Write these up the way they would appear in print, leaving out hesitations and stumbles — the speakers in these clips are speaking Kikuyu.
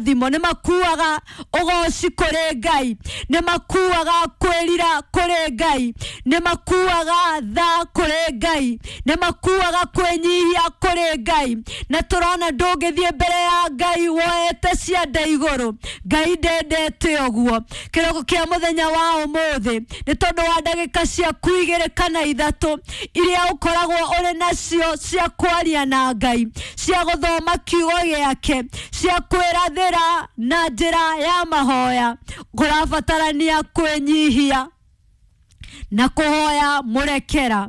Kĩrathimo nĩ makuaga ũgoci kũrĩ Ngai, nĩ makuaga kwĩrira kũrĩ Ngai, nĩ makuaga tha kũrĩ Ngai, nĩ makuaga kwĩnyihia kũrĩ Ngai. Na tũrona ndũngĩthiĩ mbere ya Ngai woete cianda igũrũ. Ngai ndendete ũguo. Kĩroko kĩa mũthenya wa ũmũthĩ, nĩ tondũ wa ndagĩka ciaku 2 kana 3 iria ũkoragwo ũrĩ nacio cia kwaria na Ngai, cia gũthoma kiugo gĩake, cia kwĩrathĩra na njĩra ya mahoya, kũrabatarania kwĩnyihia na kũhoya mũrekera.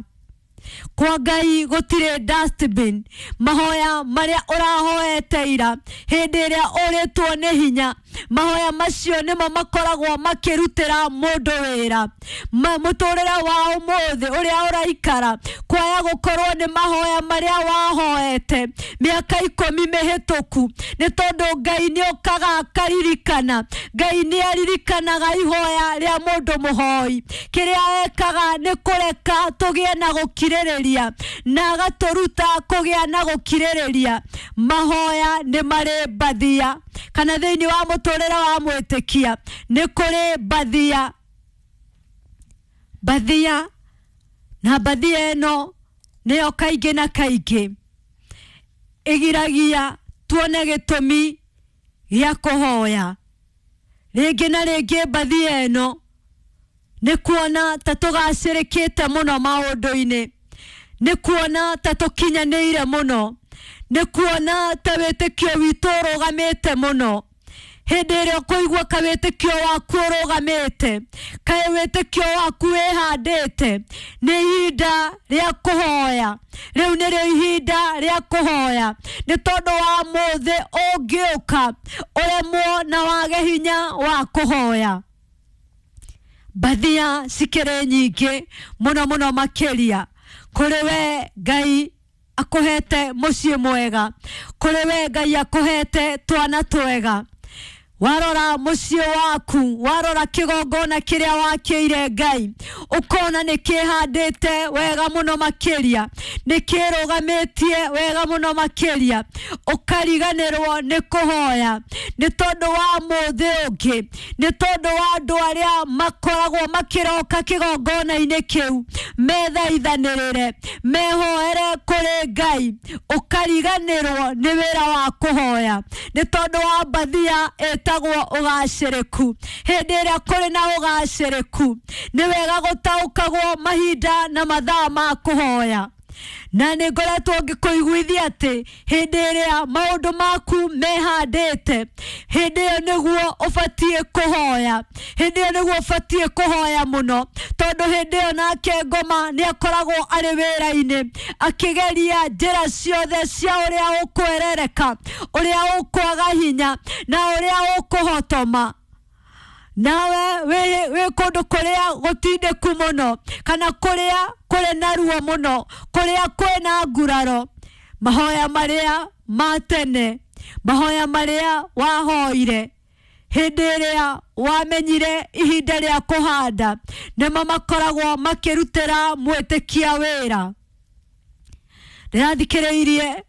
Kwa Ngai gũtirĩ dustbin. Mahoya marĩa ũrahoete ira hĩndĩ ĩrĩa ũrĩtwo nĩ hinya, mahoya macio nĩmo makoragwo makĩrutĩra mũndũ wĩra. Mũtũrĩre wa ũmũthĩ ũrĩa ũraikara, kwaya gũkorwo nĩ mahoya marĩa wahoete mĩaka 10 mĩhĩtũku, nĩ tondũ Ngai nĩokaga akaririkana. Ngai nĩaririkanaga ihoya rĩa mũndũ mũhoi. Kĩrĩa ekaga nĩ kũreka tũgĩe na gũkirĩrĩria, na agatũruta kũgĩa na gũkirĩrĩria. Mahoya nĩ marĩ mbathia, kana thĩinĩ wa mũtũrĩre wa mwĩtĩkia nĩ kũrĩ mbathia. Mbathia, na mbathia ĩno nĩyo kaingĩ na kaingĩ ĩgiragia tuone gĩtũmi gĩa kũhoya. Rĩngĩ na rĩngĩ mbathia ĩno nĩ kuona ta tũgacĩrĩkĩte mũno maũndũ-inĩ, nĩ kuona ta tũkinyanĩire mũno, nĩ kuona ta wĩtĩkio witũ ũrũgamĩte mũno. Hĩndĩ ĩrĩa ũkũigua ka wĩtĩkio waku ũrũgamĩte, kaĩ wĩtĩkio waku wĩhandĩte, nĩ ihinda rĩa kũhoya. Rĩu nĩrĩo ihinda rĩa kũhoya, nĩ tondũ wa mũthĩ ũngĩũka ũremwo na wage hinya wa kũhoya. Mbathia cikĩrĩ nyingĩ mũno mũno makĩria. Kũrĩ we Ngai akũhete mũciĩ mwega, kũrĩ we Ngai akũhete twana twega. Warora mũciĩ waku, warora kĩgongona kĩrĩa wakĩire Ngai, ũkona nĩ kĩhandĩte wega mũno makĩria, nĩ kĩrũgamĩtie wega mũno makĩria, ũkariganĩrwo nĩ kũhoya, nĩ tondũ wa mũthĩ ũngĩ, nĩ tondũ wa andũ arĩa makoragwo makĩroka kĩgongona-inĩ kĩu, methaithanĩrĩre, mehoere kũrĩ Ngai, ũkariganĩrwo nĩ wĩra wa kũhoya, nĩ tondũ wa mbathia ĩtagwo ũgacĩrĩku. Hĩndĩ ĩrĩa kũrĩ na ũgacĩrĩku, nĩ wega gũtaũkagwo mahinda na mathaa ma kũhoya. Na nĩ ngoretwo ngĩkũiguithia atĩ hĩndĩ ĩrĩa maũndũ maku mehandĩte, hĩndĩ ĩyo nĩguo ũbatiĩ kũhoya, hĩndĩ ĩyo nĩguo ũbatiĩ kũhoya mũno, tondũ hĩndĩ ĩyo nake ngoma nĩ akoragwo arĩ wĩra-inĩ akĩgeria njĩra ciothe cia ũrĩa ũkwerereka, ũrĩa ũkwaga hinya na ũrĩa ũkũhotoma. Nawe wĩ kũndũ kũrĩa gũtindĩku mũno, kana kũrĩa kũrĩ na ruo mũno, kũrĩa kwĩna nguraro, mahoya marĩa ma tene, mahoya marĩa wahoire hĩndĩ ĩrĩa wamenyire ihinda rĩa kũhanda, nĩmo makoragwo makĩrutĩra mwĩtĩkia wĩra. Ndĩrathikĩrĩirie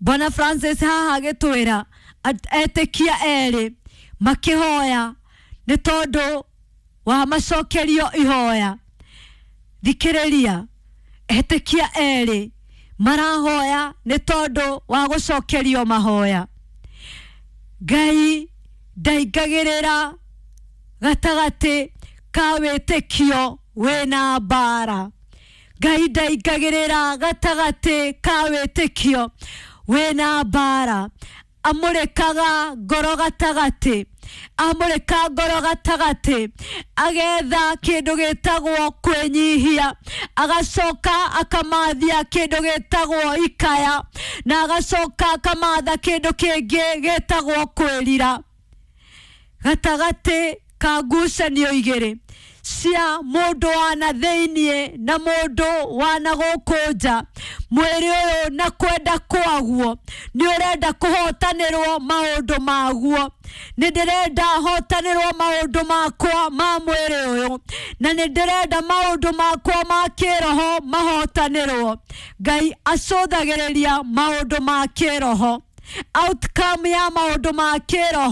Bwana Francis haha agĩtwĩra etĩkia erĩ makĩhoya nĩ tondũ wa macokerio ihoya. Thikĩrĩria, etĩkia erĩ marahoya nĩ tondũ wa gũcokerio mahoya. Ngai ndaingagĩrĩra gatagatĩ ka wĩtĩkio wĩna mbara. Ngai ndaingagĩrĩra gatagatĩ ka wĩtĩkio wĩna mbara. Amũrĩkaga ngoro gatagatĩ, amũrĩka ngoro gatagatĩ, agetha kĩndũ gĩtagwo kwĩnyihia, agacoka akamathia kĩndũ gĩtagwo ikaya, na agacoka akamatha kĩndũ kĩngĩ gĩtagwo kwĩrira. Gatagatĩ ka ngucanio igĩrĩ cia mũndũ wa na thĩiniĩ na mũndũ wa na gũkũ nja, mwĩrĩ ũyũ na kwenda kwaguo nĩ ũrenda kũhotanĩrwo maũndũ maguo. Nĩ ndĩrenda hotanĩrwo maũndũ makwa ma mwĩrĩ ũyũ, na nĩ ndĩrenda maũndũ makwa ma kĩroho mahotanĩrwo. Ngai acũthagĩrĩria maũndũ ma kĩroho, outcome ya maũndũ ma kĩroho.